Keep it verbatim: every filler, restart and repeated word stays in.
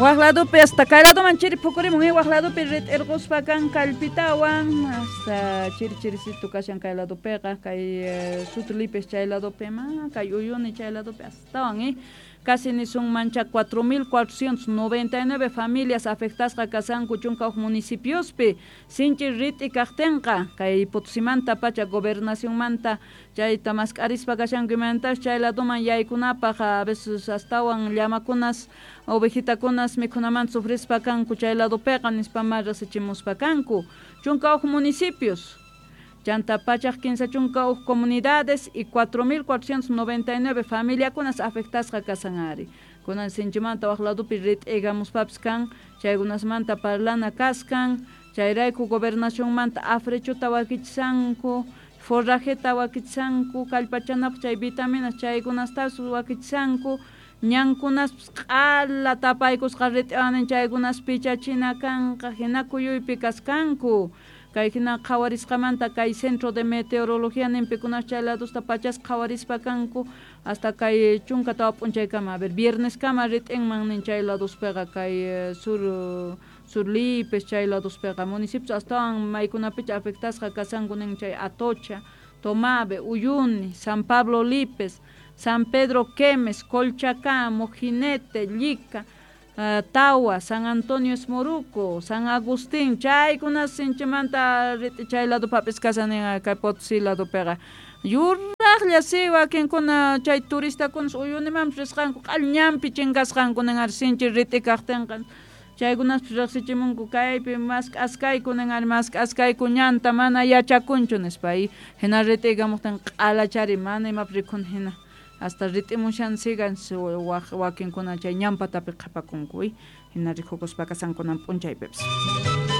Waj ladopi hasta kay ladoman chiri phukurimun, eh, waj ladopi rit'irquspa kan kallpitawan hasta chiri chirisitu kashan kay ladopiqa kay eh, Sutlipes chay ladopi ma kay Uyuni chay ladopi astawan, eh. Casi nisunmancha cuatro mil cuatrocientos noventa y nueve familias afectasqa kasanku chunka huk municipiospi sinchi rit'i kaqtinqa kay Potosimanta pacha gobernacionmanta chayta mask'arispa kashanku imantas chay ladoman yaykunapaq a veces astawan llamakunas ovejitakunas mikhunamanta sufrispa kanku chay ladopiqa nispa ma rasichimuspa kanku chunka huk municipios chanta pachaq kinsa chunka huk comunidades y cuatro mil cuatrocientos noventa y nueve familiakunas afectasqa kasan ari kunan sinchimanta waj ladopi rit'igamuspapis kan chaykunasmanta parlana kaskan chayrayku gobernacionmanta afrechuta wakichisanku forrajeta wakichisanku kallpachanapaq chay vitaminas chaykunastapis wakichisanku ñankunaspis q'ala tapaykusqa rit'iwanin chaykunas pichachina kanqa hina kuyuypi kaskanku kay hina qhawarisqamanta kay centro de meteorología ninpikunas chay ladosta pachas qhawarispa kanku hasta kay chunka tawa p'unchaykama a ver vierneskama rit'inman nin chay ladospiqa kay sur sur Lipes chay ladospiqa municipios astawan maykunapicha afectasqa kasanku nin chay Atocha, Tomave, Uyuni, San Pablo Lipes, San Pedro Quemes, Colchacá, Mojinete, Llica, Uh, Tawa, San Antonio Esmoruco, San Agustín, chaykunas sinchimanta chay lado papis kasanin kay Potosí ladopiqa yuraqlla si wakinkuna chay turistakunas Uyunimanpis risqanku q'all ñanpi chinkasqanku nin ari sinchi rit'i kaqtinqa chaykunaspis riqsichimunku kaypi mask'askayku nin ari mask'askayku ñanta mana yachakunchu nispa y hina rit'ikamuqtin q'alachari mana imapis rikhuni hina hasta rit'imushan sigan wakinkuna chay ñanpatapi qhapakunku hina rikukuspa kasankunan p'unchaypipis.